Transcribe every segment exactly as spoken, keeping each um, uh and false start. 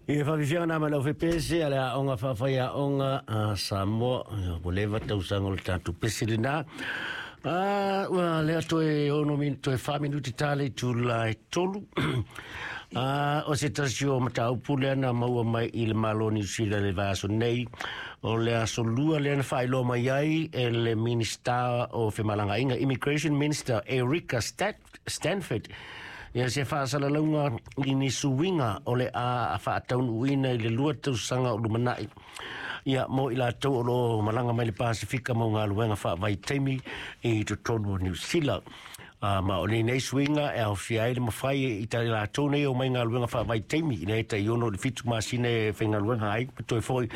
Ia faafiafiaga na mai lau fepese a le aoga faafaiaoga a Samoa. Ia, ua leva tausaga o le tatou pese lenā. Ah, ua lea toe ono min toe fa minuti tale itula e tolu. Ah, o se tasi o mataupu lea na maua mai i le Malo o Niu Sila le vaiaso nei. O le aso lua lea na faailoa mai ai e le Minista o Femalagaaiga, Immigration Minister Erika Stat Stanford, ia se faasalalauga i ni suiga o le a faataunuuina i le lua tausaga o lumanai. Ia mo i latou o loo malaga mai le Pasifika mo galuega faavaitaimi i totonu o Niu Sila. Uh, ma o lenei suiga e aofia ai le mafai i ta latou nei o mai galuega faavaitaimi ina e tai ono i le fitu masina e faigaluega ai ma toe foi.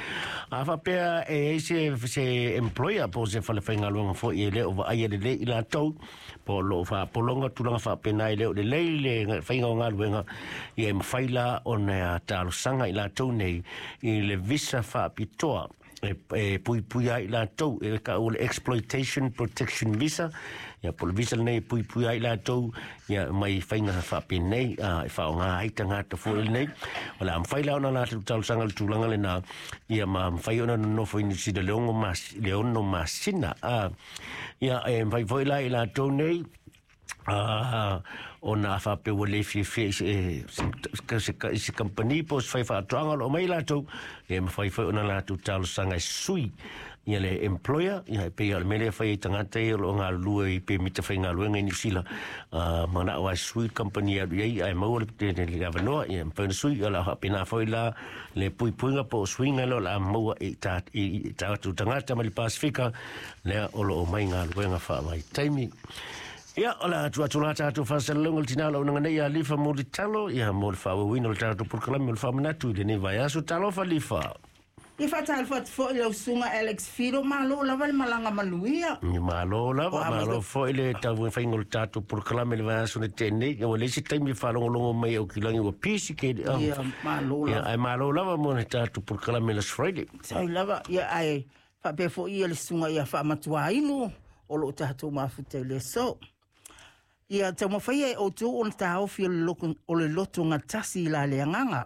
A faapea e ai se, se employer po o se fale faigaluega foi e le o vaaia lelei i latou po o loo faapologa tulaga faapena e le o lelei le faiga o galuega, ia e mafai la ona talosaga i latou nei i le visa faapitoa e, e puipui ai latou e ka o le Exploitation Protection Visa. Ia po o le visa lenei e puipui ai latou ia mai faiga faapenei a e faaaoga ai tagata foi lenei. O le a mafai la ona latou talosaga le tulaga lena, ia ma mafai ona nonofo i Niu Sila le ono mas, le ono masina a ia e mafai foi la i latou nei Ah, ona a faapea ua le fiafia i se, se, se, i se company po o se faifaatoaga o loo mai latou, e mafai foi ona latou talosaga e sui ia le employer. Ia e pei o le mea lea e fai ai tagata ia o loo galulue i pemita faigaluega i Niu Sila, uh, manao ai sui le company e alu i ai ae maua le, le, le avanoa, ia mafai ona sui. O le a faapena foi la le puipuiga po o suiga lea o le a maua i, ta, i, i tatou tagata mai le Pasifika lea o loo mai galuega faavaitaimi. Ia, o le atu atu la tatou faasalalauga le tinā launaga nei ia Lifa Mulitalo, ia mo le faaauauina o le tatou polokalame o le faamanatu i lenei vaiaso. Talofa, Lifa. Ia faatalofa atu foi lau susuga Alex Fido, malo lava le malaga manuia. Ia malo lava, O a malo mai- foi le taumafaiga o le tatou polokalame le vaiaso na tea nei. Ia ua leai se taimi e faalogologo mai au kilagi ua pisi ke. Ia malo Ia, lava. ae malo lava mo le tatou polokalame last Friday. Sai lava, ia ae faapea foi ia le susuga ia Faamatuainu o loo tatou mafuta i le aso. Ia taumafaia e outou ona taofi o le loko- o le lotogatasi i la le agaga.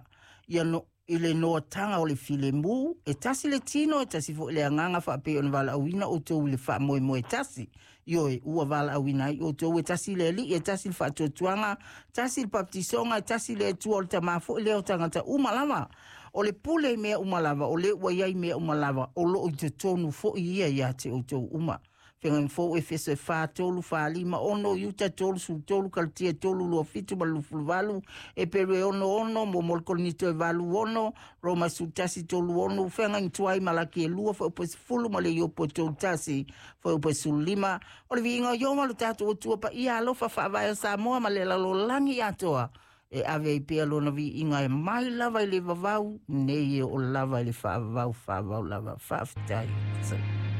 Ia no, i le noataga o le filemu, e tasi le tino, e tasi foi le agaga faapei ona valaauina outou i le faamoemoe tasi. Ioe, ua valaauina ai outou e tasi le Alii, e tasi le faatuatuaga, tasi le baptisoga, e tasi le Atua o le Tamā foi lea o tagata uma lava. O le pule i mea uma lava, o le ua iai mea uma lava, o loo i totonu foi ia ia te outou uma. Feagaiga Fou Efeso e fa, tolu, fa, lima, ono, Iuta tolu, sulu tolu, Kalatia tolu, lua fitu ma le lufulu valu, Eperu e ono ono, mo le Korinito e valu ono, Roma sulu tasi tolu ono, Feagaiga Tuai Malaki e lua, fuaiupu e sefulu ma le Iopo e tolu tasi, fuaiupu e sulu lima. O le viiga o Ieova lo tatou Atua paia alofa faavae o Samoa ma le lalolagi atoa. E ave ai pea lona viiga e mai lava i le vavau, nei e oo lava i le faavavau faavavau lava. Faafetai.